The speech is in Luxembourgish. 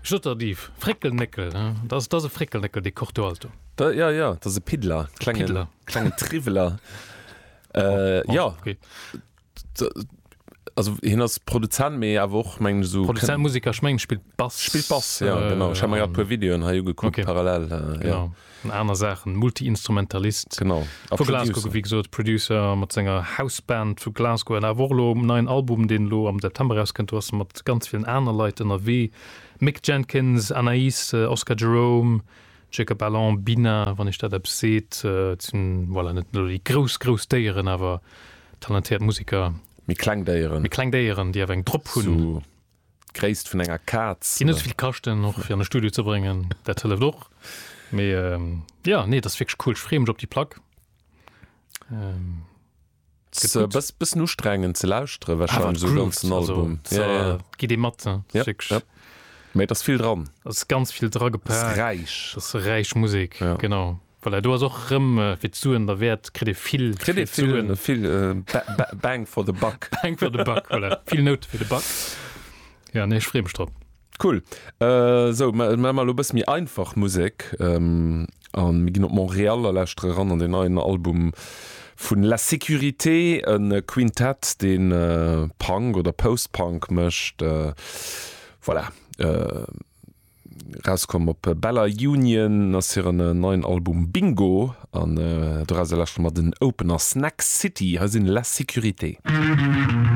Sot der Yves, Fréckelnéckel, dat ass, dat ass e Fréckelnéckel, dee Corto Alto. Da, ja, ja, dat ass e Piddler, klengen, Piddler. klengen Triwweler. Äh, ja. Okay. Also hien ass Produzent, mee awer och mengen ech esou. Produzent, Musiker, ech mengen spillt Bass. Spillt Bass, ja genau. Ech hat mer grad e puer Videoen hei ugekuckt okay. parallel. Äh, genau. Ja. An aner Saachen, Multi-Instrumentalist. Genau. A Vu Glasgow, wéi gesot, Producer mat senger Houseband vu Glasgow an awer och elo um neien Album, deen elo am September erauskënnt, do ass e mat ganz villen aner Leit ënnerwee. Mick Jenkins, Anaïs, Oscar Jerome, Jacob Alon, Bina, wann iech dat eppes seet. Et sinn, voilà, net elo déi grouss, grouss Déieren, awer talentéiert Museker. Méi kleng Déieren. Méi kleng Déieren, déi awer eng drop hunn. Sou d'Gréisst vun enger Kaz. Déi net esou vill kaschten, och fir an de Studio ze bréngen. Dat hëlleft och. Mee jo, nee, et ass wierklech cool. Ech freeë mech op déi Plack. Ass e bëssen ustrengend ze lauschtere wahrscheinlech esou e ganzen Album. Ja, ja. Geet ee mat, ne? Ja, ja. Mee et ass vill dran. Et ass ganz vill dra gepaakt. Et ass räich. Et ass räich Musek, ja. Genau. Voilà, do ass och rëm fir d'Suen derwäert, kritt ee vill Kritt ee vill, vill Bang for the buck. Bang for the buck, voilà. Vill Noute fir de Buck. Ja, nee, ech freeë mech drop. Cool. Sou, mä mer elo e bësse méi einfach Musek a mir ginn op Montréal a lauschtere ran an den neien Album vun La Sécurité, e Quintett, dee Punk oder Post-Punk mécht. Voilà, rauskomm op Bella Union ass hiren neien Album Bingo an dorauser lauschtere mer den Opener Snack City. Hei sinn La Sécurité.